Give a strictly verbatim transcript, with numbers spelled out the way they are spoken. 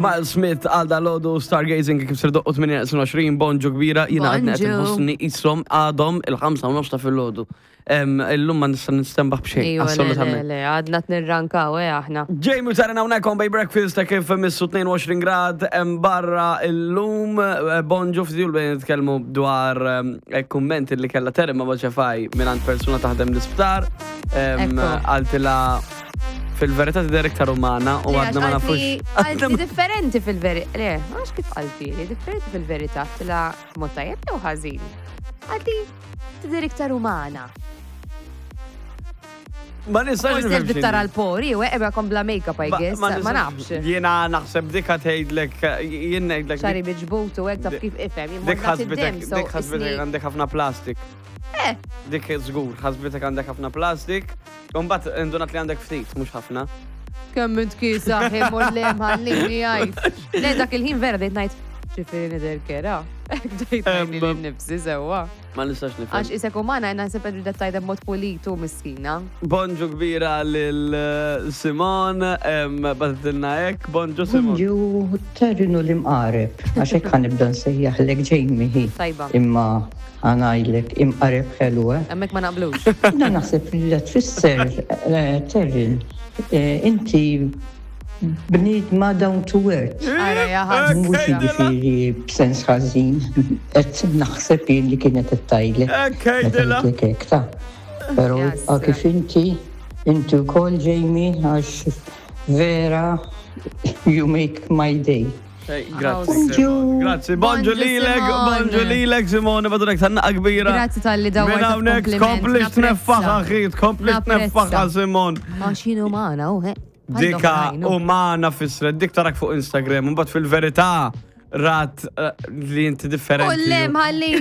Miles Smith għal dal-għodu Stargazing kif ser doqqu tmienja għoxrin, bonġu kbira, jiena għadni qed Bonġu. inħossni jisom għadhom il-ħamsa u nofs ta' filgħodu. Illum ma nista' nistenbaħ b'xejn, Ejwa, le, le, assolutament. le, għadna t-nirrankaw, eh, aħna. Jamie u Taryn hawnhekk on Bay Breakfast ta' kif missu tnejn u għoxrin grad hemm barra illum. eh, bonġu fdijul bejn nitkellmu dwar eh, kummenti li kella Taryn ma' Boċefaj minn persuna taħdem l-isptar. Em, Ekku. Qaltilha fil-verità tidher iktar umana u għadna ma nafux. Qaltli differenti fil-verità. Le, għax kif qaltli, li differenti fil-verità, tila mod tajjeb jew ħażin. Qaltli tidher iktar umana. Ma nistax Forsi nifhem qed tara x'inhi. l-pori, u ebba kompla make-up, I guess. Ma nafx. Jiena naħseb dik tgħidlek, jien ngħidlek. Xagħri miġbud u hekk taf kif ifhem. Jien Dik morna ħasbitek, fid-dem, so dik ħasbitek isni- għandek ħafna plastik. Eh, Dik żgur, ħasbitek għandek ħafna plastik. Imbagħad indunat li għandek ftit, mhux ħafna. Kemm int kiesaħ, imur le mħallini għajt. Le, dak il-ħin vera bdejt ngħid, ġifieri nidher kerha. Bdejt ngħid lili nnifsi sewwa. Ma nistax nifhem. Għax isek umana jena naħseb qed tajda b'mod pulitu miskina. Bonġu kbira lil eh, Simon, em, bagħtitilna hekk, bonġu Simon. Bonġu, Taryn u l-imqareb, għax hekk ħa nibda nsejjaħlek Jamie hi. Tajba. Imma ħa ngħidlek imqareb ħelu, eh? Hemmhekk ma naqblux. Jiena naħseb li la tfisser, eh, Taryn, eh, inti bniedma down to earth. Ara ja ħadd. Mhux jiġifieri b'sens ħażin, qed naħseb jien li kienet qed tgħidlek. Hekk Meta għidilha. għidlek hekk ta' Però Jasra. kif inti, inti wkoll Jamie, għax vera you make my day. Hey, Grazzi. Bonġu. Simon. Grazzi, bonġu Bonġu, lilek, Simon. bonġu lilek, Simone, badurek tanna kbira. Grazzi talli dawwart Minn hawnhekk kompliment. tkomplix tneffaħ, axi, tkomplix Napprezza. tneffaħ, Simon. Għax jien umana, u he. Dika umana fissret, dik tarak fuq Instagram, mbagħad fil-verità rat eh, li inti U differenti. le mħallini